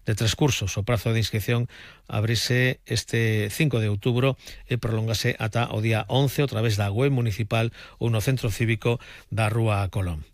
de 3 cursos. O prazo de inscripción abrise este 5 de outubro e prolongase ata o día 11 a través da web municipal ou no centro cívico da Rúa Colón.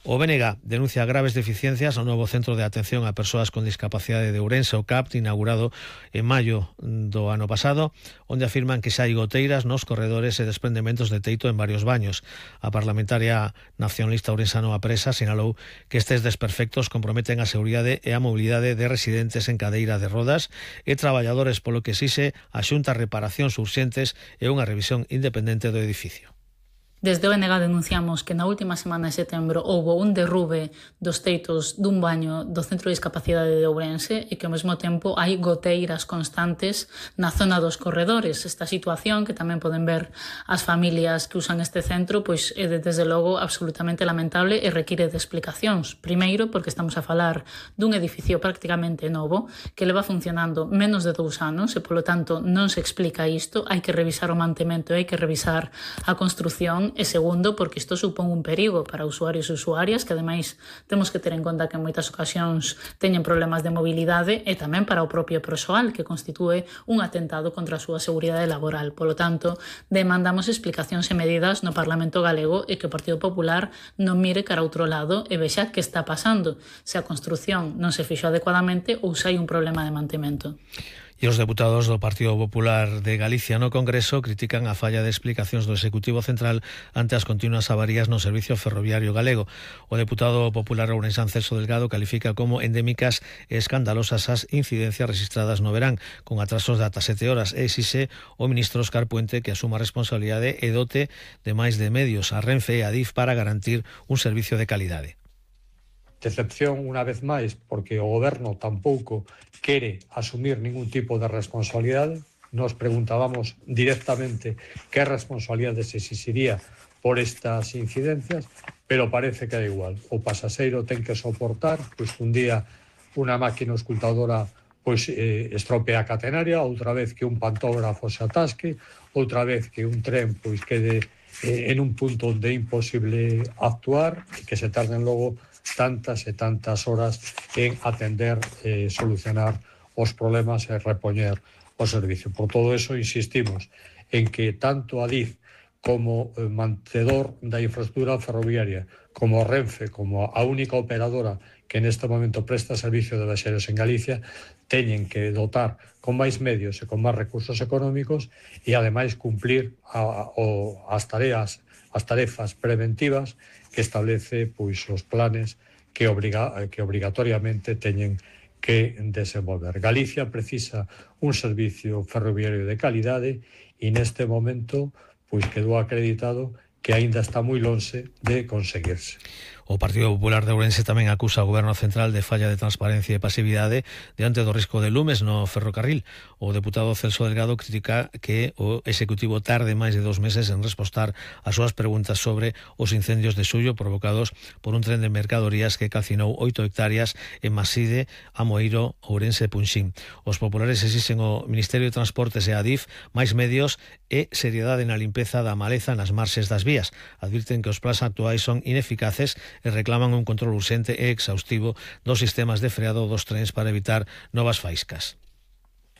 O BNG denuncia graves deficiencias no novo Centro de Atención a Persoas con Discapacidade de Ourense, o CAPT, inaugurado en maio do ano pasado, onde afirman que xa hai goteiras nos corredores e desprendementos de teito en varios baños. A parlamentaria nacionalista ourensano Apresa sinalou que estes desperfectos comprometen a seguridade e a mobilidade de residentes en cadeira de rodas e traballadores, polo que exixe a Xunta reparacións urxentes e unha revisión independente do edificio. Desde o BNG denunciamos que na última semana de setembro houbo un derrube dos teitos dun baño do Centro de Discapacidade de Ourense e que ao mesmo tempo hai goteiras constantes na zona dos corredores. Esta situación, que tamén poden ver as familias que usan este centro, pois é desde logo absolutamente lamentable e require de explicacións. Primeiro, porque estamos a falar dun edificio prácticamente novo que leva funcionando menos de 2 anos e, polo tanto, non se explica isto. Hai que revisar o mantemento e hai que revisar a construción. E segundo, porque isto supón un perigo para usuarios e usuarias, que ademais temos que ter en conta que en moitas ocasións teñen problemas de mobilidade, e tamén para o propio persoal, que constitúe un atentado contra a súa seguridade laboral. Polo tanto, demandamos explicacións e medidas no Parlamento galego e que o Partido Popular non mire cara a outro lado e vexa que está pasando, se a construción non se fixo adecuadamente ou se hai un problema de mantemento. E os deputados do Partido Popular de Galicia no Congreso critican a falla de explicacións do Executivo Central ante as continuas avarías no servicio ferroviario galego. O deputado popular ourensán Celso Delgado califica como endémicas e escandalosas as incidencias registradas no verán, con atrasos de ata 7 horas, e exixe o ministro Óscar Puente que asuma a responsabilidade e dote de máis de medios a Renfe e a Adif para garantir un servicio de calidade. Decepción unha vez máis, porque o goberno tampouco quere asumir ningún tipo de responsabilidade. Nos preguntábamos directamente que responsabilidade se exixiría por estas incidencias, pero parece que da igual. O pasaxeiro ten que soportar, pois un día unha máquina escultadora pois estropea a catenaria, outra vez que un pantógrafo se atasque, outra vez que un tren pois quede en un punto onde é imposible actuar e que se tarden logo tantas e tantas horas en atender, solucionar os problemas e repoñer o servicio. Por todo eso insistimos en que tanto Adif como mantedor da infraestructura ferroviaria, como Renfe, como a única operadora que neste momento presta servicio de viaxeros en Galicia, teñen que dotar con máis medios e con máis recursos económicos e ademais cumplir as tarefas preventivas que establece pois os planes que obrigatoriamente teñen que desenvolver. Galicia precisa un servicio ferroviario de calidade e neste momento pois quedou acreditado que aínda está moi lonxe de conseguirse. O Partido Popular de Ourense tamén acusa o Goberno Central de falla de transparencia e pasividade diante do risco de lumes no ferrocarril. O deputado Celso Delgado critica que o Executivo tarde máis de 2 meses en respostar as súas preguntas sobre os incendios de Xullo provocados por un tren de mercadorías que calcinou 8 hectáreas en Maside, Amoeiro, Ourense e Punxín. Os populares exixen ao Ministerio de Transportes e a Adif máis medios e seriedade na limpeza da maleza nas marxes das vías. Advirten que os plans actuais son ineficaces e reclaman un control urxente e exhaustivo dos sistemas de freado dos trens para evitar novas faíscas.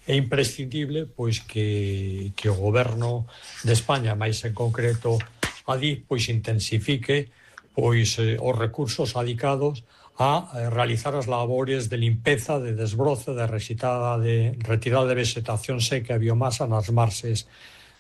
É imprescindible pois que o Goberno de España, máis en concreto Adif, pois intensifique pois os recursos adicados a realizar as labores de limpeza, de desbroce, de retirada de vegetación seca e biomasa nas marxes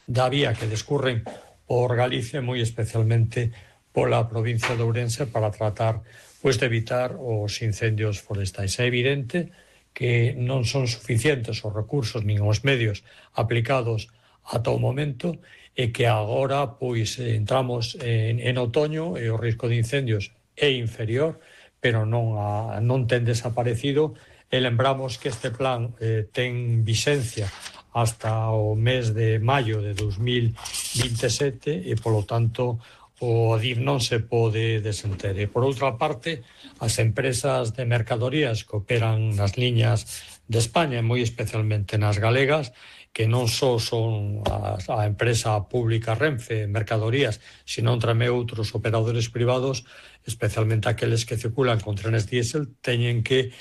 da vía que descurren por Galicia, moi especialmente pola provincia de Ourense, para tratar pois de evitar os incendios forestais. É evidente que non son suficientes os recursos nin os medios aplicados ata o momento e que agora pois entramos en outoño e o risco de incendios é inferior, pero non ten desaparecido, e lembramos que este plan ten vixencia hasta o mes de maio de 2027 e, polo tanto, o Adif non se pode desenter. E, por outra parte, as empresas de mercadorías que operan nas liñas de España, moi especialmente nas galegas, que non só son a empresa pública Renfe Mercadorías, sino tamén outros operadores privados, especialmente aqueles que circulan con trenes diésel, teñen que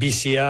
vixía